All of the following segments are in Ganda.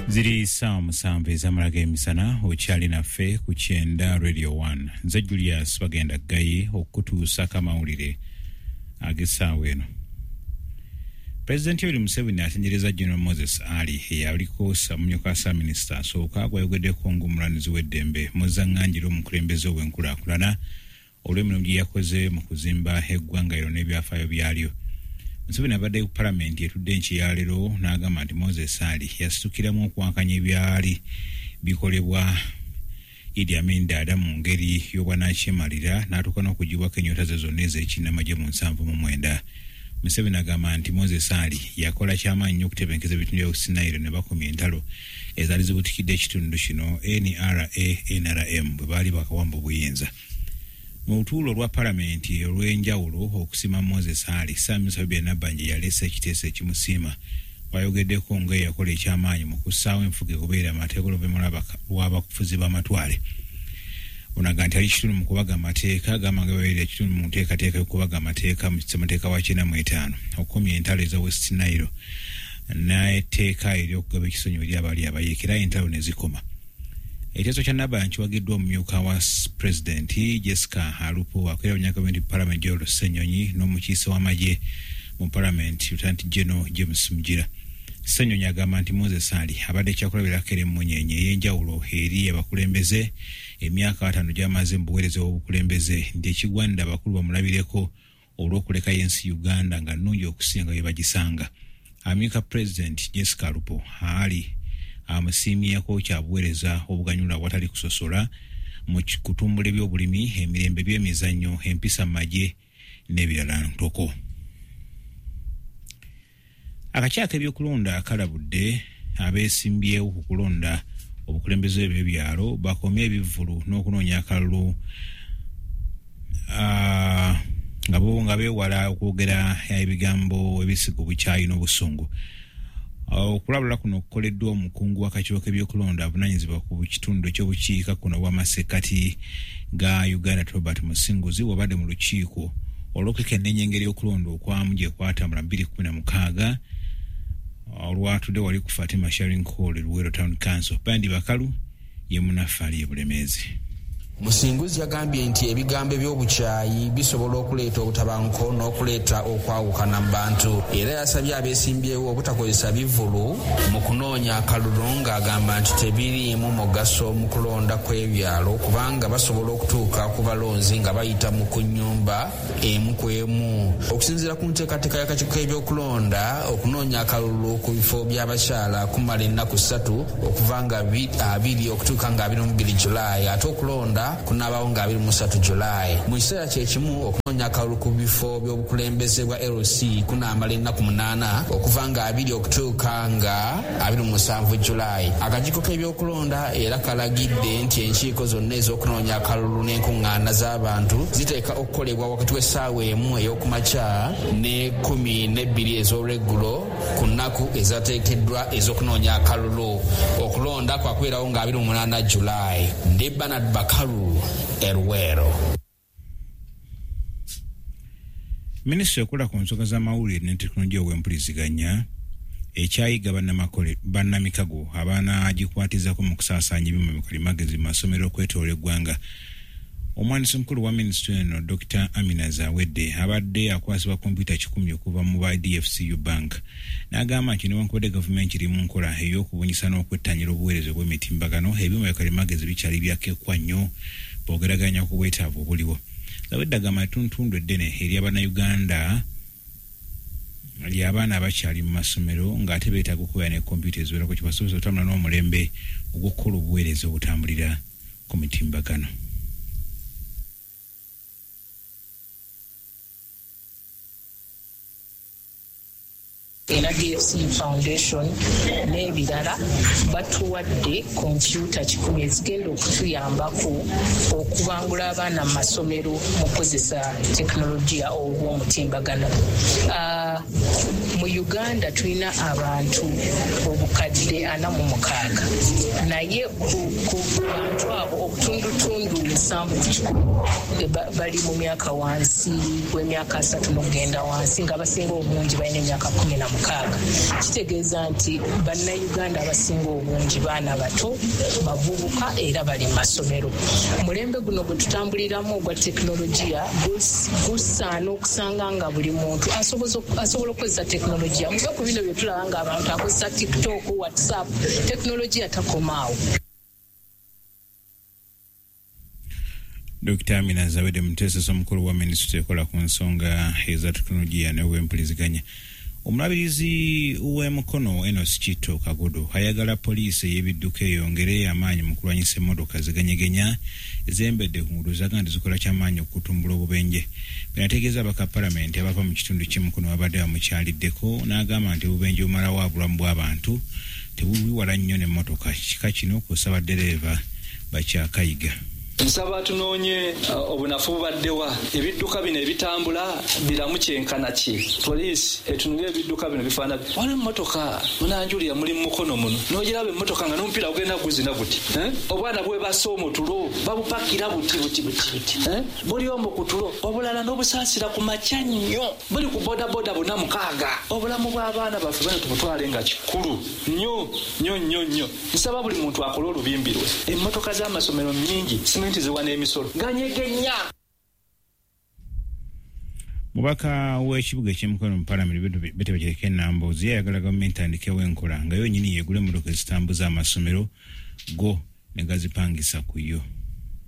Ziri 7:00 ez'amala g'emisana, okyali naffe ku Kyenda Radio 1. Nze Julius Bagenda Ggayi okutuusako amawulire ag'essaawa eno. Pulezidenti Yoweri Museveni atendereza General Moses Ali eyaliko omumyuka wa Ssaabaminisita asooka gwayogeddeko ng'omulwanirizi w'eddembe muzzaŋŋanjira omukulembeze ow'enkulaakulana olw'emirimu gye yakoze mu kuzimba eggwanga lino n'ebyafaayo byalyo. Museveni abadde ku palamenti etudde enkya ya leero n'agamba nti Moses Ali yasitukiramu okuwankanya ebyali bikolebwa Idi Amin Dada mu ngeri y'obwannakyemalira n'atuuka n'okuggyibwako ennyota ze zonna ez'ekinnamagye mu 79. Museveni agamba nti Moses Ali yakola kyamaanyi nnyo okutebenkeza ebitundu bya West Nile ne bakomya entalo ezaali zibutikidde ekitundu kino NRA NRM bwe baali bakawamba obuyinza. Mu lutuula olwa palamenti olw'enjawulo okusiima Moses Ali, Ssaabaminisita Robinah Nabbanja yaleese ekiteeso ekimusiima bw'ayogeddeko ng'eyakola ekyamaanyi mu kussaawo enfuga egoberera amateeka oluvannyuma lw'abafuzi b'amatwale. Ono agamba nti ali kitundu mu kubaga amateeka, agamba nga babeerera ekitundu mu nteekateeka y'okubaga amateeka mu ssemateeka wa 95 okukomya entalo eza West Nile n'etteeka ery'okugaba ekisonyiwo eri abaali abayeekera entalo ne zikoma. Ekiteeso kya Nabbanja kiwagiddwa omumyuka wa pulezidenti Jessica Alupo akulira bannagavumenti mu palamenti Joel Ssenyonyi n'omukiise w'amagye mu palamenti Lieutenant General James Mugira. Ssenyonyi agamba nti Moses Ali abadde kyakulabirako era emmunyeenye ey'enjawulo eri abakulembeze emyaka 50 gy'amaze mu buweereza obw'obukulembeze nti ekigwanira abakulu bamulabireko olw'okulekayo ensi Uganda nga nnungi okusinga bye bagisanga. Amyuka pulezidenti Jessica Alupo Ali amusiimyeko kya buweereza obuganyula awatali kusosola mu kutumbula ebyobulimi, emirembe, by'emizannyo, empisa mu magye n'ebirala ntoko. Akakiiko k'ebyokulonda kalabudde abeesimbyewo ku kulonda obukulembeze bw'ebyalo bakomye ebivvulu n'okunoonya akalulu nga bo nga beewala okwogera ebigambo ebisiga obukyayi n'obusungu. Okulabula kuno kukoleddwa omukungu w'akakiiko k'ebyokulonda avunaanyizibwa ku kitundu eky'obukiika kuno obw'amasekkati ga Uganda Robert Musinguzi wabadde mu lukiiko olw'okwekenneenya engeri y'okulonda okwamu gye kwatambula 2016 olwatudde wali ku Fatima Sharing Hall e Luweero Town Council. Bandi Bakalu ye munnaffe ali e Bulemeezi. Musinguzi yagambye nti ebigambo eby'obukyayi bisobola okuleeta obutabanguko n'okuleeta okwawukana mu bantu, era yasabye abeesimbyewo obutakozesa bivvulu mu kunoonya akalulu ng'agamba nti tebiriimu mugaso mu kulonda kw'ebyalo kubanga basobola okutuuka ku balonzi nga bayita mu ku nnyumba emu ku emu. Okusinziira ku nteekateeka y'akakiiko k'ebyokulonda, okunoonya akalulu ku bifo by'abakyala kumala ennaku 3 okuva nga 2 okutuuka nga 22 Julaayi, ate okulonda kunaabaawo nga 23 Julaayi. Mu kiseera kye kimu, okunoonya akalulu ku bifo by'obukulembeze bwa LC kunaamala ennaku 8 okuva nga 2 okutuuka nga 27 Julaayi. Akakiiko k'ebyokulonda era kalagidde nti enkiiko zonna ez'okunoonya akalulu n'enkuŋŋaana z'abantu ziteeka okukolebwa wakati w'essaawa 1 ey'okumakya ne 12 ez'olweggulo ku nnaku ezateekeddwa ez'okunoonya akalulu. Okulonda kwakubeerawo nga 28 Julaayi. Ndi Bernard Bakalu e Luweero. Minisitule ekola ku nsonga z'amawulire ne tekinologiya ow'empuliziganya ekyayiga bannamikago abanaagikwatizako mu kusaasaanya ebyuma bikalimagezi mu masomero okwetoloola eggwanga. Omuwandiisi omukulu wa minisitule eno Dr. Amina Zawedde abadde akwasibwa kompyuta 100 okuva mu ba DFCU Bank n'agamba nti newankubadde gavumenti eri mu nkola ey'okubunyisa n'okwettanira obuweereza obw'emitimbagano, ebyuma bikalimagezi bikyali byakekwa nnyo bw'ogeraganya ku bwetaavu obuliwo. Zawedde agamba ettuntundu eddene ery'Abannayuganda ly'abaana abakyali mu masomero ng'ate beetaaga okubeera ne kompyuta eziwerako kibasobozesa okutambula n'omulembe ogw'okukola obuweereza obutambulira ku mitimbagano. Era DFC Foundation n'ebirala batuwadde kompyuta 100 ezigenda okutuyambako okubangula abaana mu masomero mu kukozesa tekinologiya ow'omutimbagano. Mu Uganda tulina abantu obukadde 46, naye ku bantu abo obutundutundu 70 bali mu myaka wansi w'emyaka 30 n'okugenda wansi, nga abasinga obungi balina emyaka 16. Kitegeeza nti bannayuganda abasinga obungi baana bato, bavubuka era bali mu masomero. Omulembe guno gwe tutambuliramu ogwa tekinologiya gusaana okusanga nga buli muntu asobola okukozesa tekinologiya. Muve ku bino bye tulaba nga abantu akozesa TikTok, WhatsApp, tekinologiya takomaawo. Dr. Amina Zawede Mutesa omukulu wa minisitule ekola ku nsonga eza tekinologiya n'obwempuliziganya. Omulabirizi w'emukono Enos Chito Kagodo ayagala poliisi ey'ebidduka eyongere amaanyi mu kulwanyisa emmotoka ziganyegenya ezembedde ku nguudo zaga nti zikola kyamaanyi okutumbula obubenje. Bino ategeeza abaka palamenti abava mu kitundu ky'emukono babadde bamukyaliddeko n'agamba nti obubenje bumalawo obulamu bw'abantu tebubiwala nnyo n'emmotoka. Kika kino kw'ossa ddereeva bakyakayiga. Nsaba tunoonye obunafu bubaddewa, ebidduka bino ebitambula biramu kyenkana ki. Poliisi etunule ebidduka bino bifaanana. Waliwo emmotoka munanjulira muli mu mukono muno, n'ogiraba emmotoka nga n'omupiira gugenda guzina guti, obwana bwebasa omutulo babupakira buti buti buti buti, buli omu ku tulo, obulala n'obusaasira ku makya nnyo, buli ku bodaboda 406. Obulamu bw'abaana baffe bano tubutwale nga kikulu nnyo nnyo nnyo nnyo. Nsaba buli muntu akole olubimbi lwe. Emmotoka z'amasomero nnyingi, ziwa n'emisolo ganyegenya. Mubaka w'ekibuga eky'emukono mu palamenti Betty Nambooze yayagala gavumenti etandikewo enkola nga yo nnyini yeegula emmotoka ezitambuza amasomero go ne gazipangisa ku yo.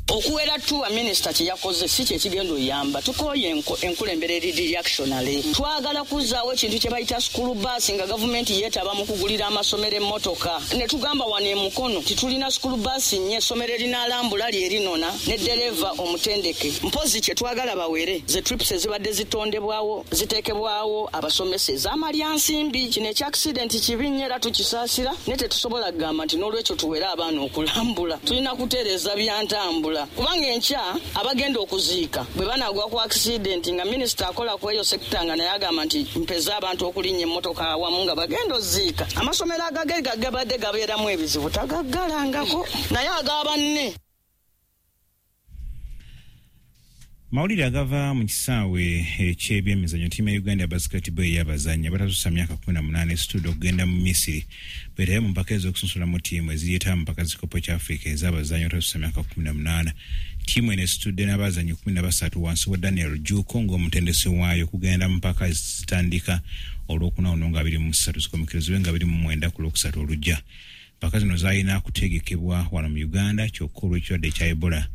Okuwera tuwa minisita kye yakoze si kye kigenda oyamba. Tukooye enkulembera eri reactionary. Twagala kuzzaawo ekintu kye bayita school bus nga gavumenti yeetaba mu kugulira amasomero emmotoka. Ne tugamba wano emukono titulina school bus nnyo, essomero erinaalambula lye erinona ne ddereeva omutendeke. Mpozi kye twagala bawere ze trips ezibadde zitondebwawo ziteekebwawo abasomesa ez'amalyansimbi. Kino ekya accident kibi nnyo era tukisaasira, naye tetusobola kugamba nti n'olwekyo tuwere abaana okulambula. Tulina kutereeza byantambula. Kubanga enkya abagenda okuziika bwe banaagwa ku accident nga minisita akola ku eyo sekita nga naye agamba nti mpeza abantu okulinnya emmotoka awamu nga bagenda oziika. Amasomero agage gabadde gabeeramu ebizibu tagaggalangako, naye ag'abanne. Mawulire agava mu kisaawe eky'ebyemizannyo, ttiimu ya Uganda basketball ey'abazannyi abatasussa myaka 18 esitudde okugenda mu Misiri beetabe mu mpaka ez'okusunsula mu ttiimu eziryetaaba mu mpaka z'ekikopo kya Afrika ez'abazannyi abatasussa myaka 18. Ttiimu eno esitudde n'abazannyi 13 wansi wa Daniel Juko ng'omutendesi waayo okugenda mu mpaka ezitandika olwokuna luno nga 23 zikomekerezebwe nga 29 ku Lwokusatu olujja. Mpaka zino zaalina kutegekebwa wano mu Uganda kyokka olw'ekirwadde ekya Ebola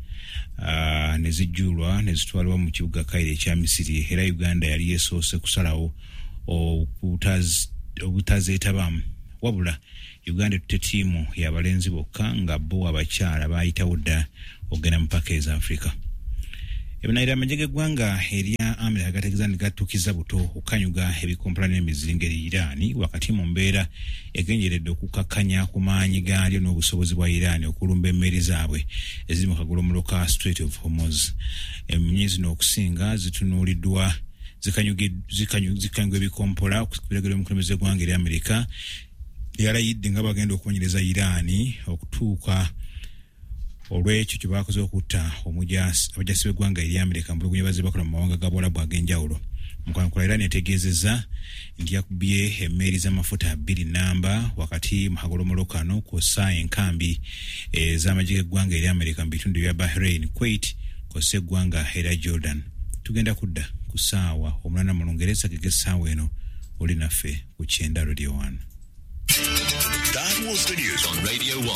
ne zijjulwa ne zitwalibwa mu kibuga Cairo ekya Misiri, era Uganda yali yesoose kusalawo obutazeetabamu. Wabula Uganda etutte ttiimu y'abalenzi bokka nga bo abakyala baayitawo dda okugenda mu mpaka eza Afrika. Ebinayira amagye g'eggwanga erya Amerika gategeeza nti gatuukiza buto okukanyuga ebikompula n'emizinga eri Iran wakati mu mbeera egenjeredde okukakkanya ku maanyi gaalyo n'obusobozi bwa Iran okulumba emmeri zaabwe eziri mu kagolomolo ka Strait of Hormuz. Emmunye zino okusinga zitunuuliddwa zikanyuga ebikompola ku biragiro by'omukulembeze w'eggwanga erya Amerika yalayidde nga bagenda okuwonyereza Iran okutuuka olw'ekyo kye baakoze okutta abajasi b'eggwanga erya Amerika mu bulugunyi bazze bakola mu mawanga ga Buwalabu ag'enjawulo. Mu kwanukula Iran etegeezezza nti yakubye emmeeri z'amafuta 2 namba wakati mu kagolomolo kano kw'ossa enkambi ez'amagye g'eggwanga erya Amerika mu bitundu bya Bahrain, Kuwait kw'ossa eggwanga erya Jordan. Tugenda kudda ku ssaawa 8 mu Lungereza g'essaawa eno oli naffe ku Kyenda Radio 1. That was the news on Radio 1.